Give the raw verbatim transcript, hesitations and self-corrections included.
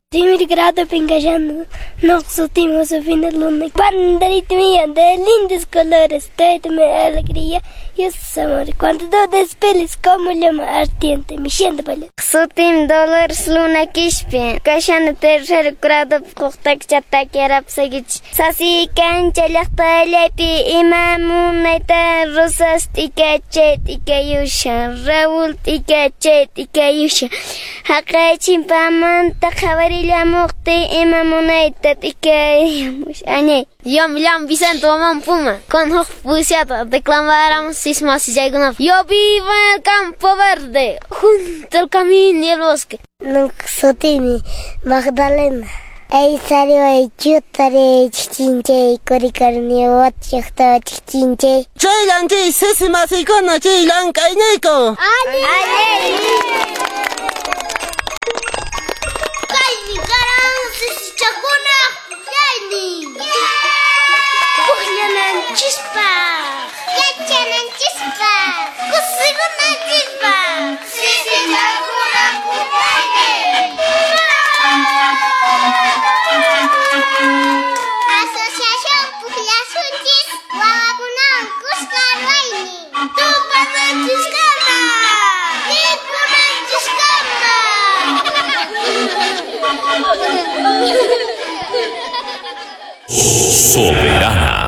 Primer grado pingallando, no sutimo su fin de luna. Banderita mía de lindos colores, tráeteme alegría y amor. Cuando tú despeles como llama ardiente, mi siento vale. Sutim Dolores Luna Quispe, kashani tercer grado puqtakcha takirapsagich. Sasi kancha llaqtallapi ima munayta rosas t'ikachay t'ikayushan, Raúl t'ikachay t'ikayushan. Haqay chimpamanta qhawarillamuqtin ima munayta t'ikayamush añay. Yo me llamo Vicente Guamán Puma, con huk poesía declamaramos sismas y Yo vivo en el campo verde, junto al camino y el bosque. Nunca sutimi Magdalena. Ay sariway chutare chinchay kurikarni watchaqta chinchay. Chaylan chay sisi masikuna chay llank'ayniyku. Allin. Kaymi karan sisichakuna pukllaynin. Pukllananchispaq, yachananchispaq, kusikunanchispaq. Sisichakuna pukllaynin. Asociación Pukllasunchis wawakunawan kuska ruwaynin. Tupananchiskama, mikhunanchiskama. Soberana.